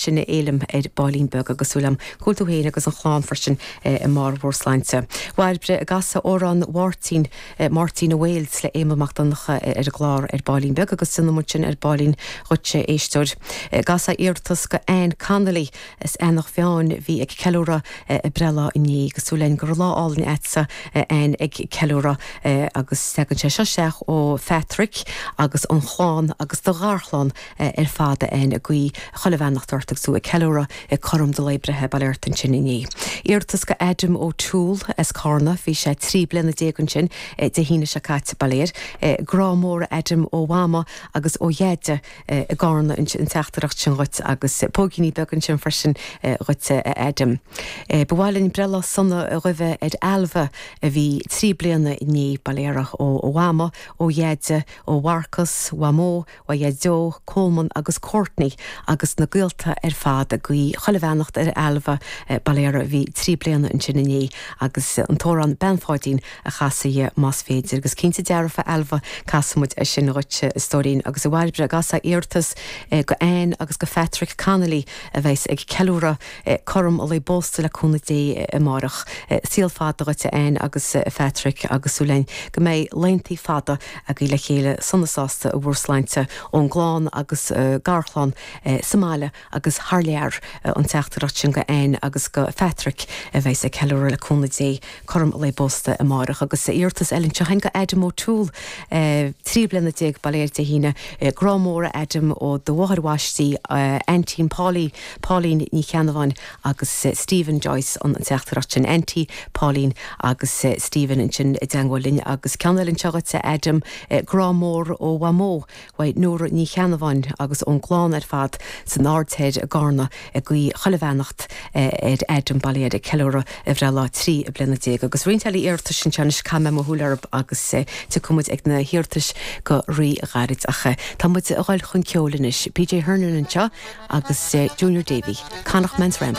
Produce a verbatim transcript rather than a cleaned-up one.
Sin a Fhéilim ar baillín beag agus súil agam go bhfuil tú féin agus an chlann freisin i mbarr bhur sláinte. Bhairbre ag casadh amhrán Mháirtín Máirtín ó Wales le Éamonn Mac Donncha ar an gclár ar baillín beag agus déanfaidh muid sin ar baillín dhuitse éisteoir. Casadh iarratas go Anne Connolly as Eanach Mheáin bhí ag ceiliúradh a breithlá inné agus súil againn go raibh lá álainn agatsa Anne ag ceiliúradh agus tagann sé seo isteach ó Phatrick agus an chlann agus do gharchlann ar fad Anne ag guí chuile bheannacht ort agus tú ag ceiliúradh ag cothrom do lae breithe bail ort ansin inné. Iarratas go Adam O'Toole as Carna bhí sé trí bliana déag ansin Dé hAoine seo caite bail air. Grá mór Adam ó Mhama agus ó Dheaide i gCarna an teachtaireacht sin dhuit agus póigíní beag ansin freisin dhuit Adam. Ba mhaith linn breithlá sona a ghuí ar Ailbhe a bhí trí bliana inné bail uirthi ó Mhama ó Dheaide ó Mharcas, Mhamó, ó Dhaideo, Coleman agus Courtney agus na gaolta ar fad ag guí chuile bheannacht ar Ailbhe bail uirthi bhí trí bliana ansin inné agus an t-amhrán Bean Pháidín a chasadh más féidir agus cinnte dearfa Ailbhe casfaidh muid é sin dhuit a stóirín agus a Bhairbre casadh iarratas go Anne agus go Patrick Connolly a bheas ag ceiliúradh cothrom a lae pósta le cúnamh Dé amárach. Saol fada dhuit Anne agus Patrick agus súil againn go mbeidh laethanta fada agaibh le chéile sona sásta i bhur sláinte ón gclann agus garchlann sa mbaile agus thar lear an teachtaireacht sin go Anne agus go Patrick a bheas ag ceiliúradh le cúnamh Dé cothrom a lae pósta amárach agus iarratas eile anseo go Adam O'Toole trí bliana déag bail air Dé hAoine grá mór Adam ó do mháthair bhaistí Aintín Pauli Pauline Ní Cheannabháin agus Stephen Joyce an teachtaireacht sin Auntie Pauline agus Stephen ansin i dteagmháil linn agus ceann eile anseo dhuit Adam grá mór ó Mhamó uaidh Nóra Ní Cheannabháin agus ón gclann ar fad san Aird Thoir i gCarna ag guí chuile bheannacht ar Adam bail air ag ceiliúradh a bhreithlá trí bliana déag agus roinnt eile iarratais anseo anois caithfidh mé mo shúil orthu agus tiocfaidh muid ag na hiarratais go rí-ghairid ach tá muid ag dul chun ceoil anois. PJ Hernan anseo agus Junior Davy, Connacht Man's Rambles.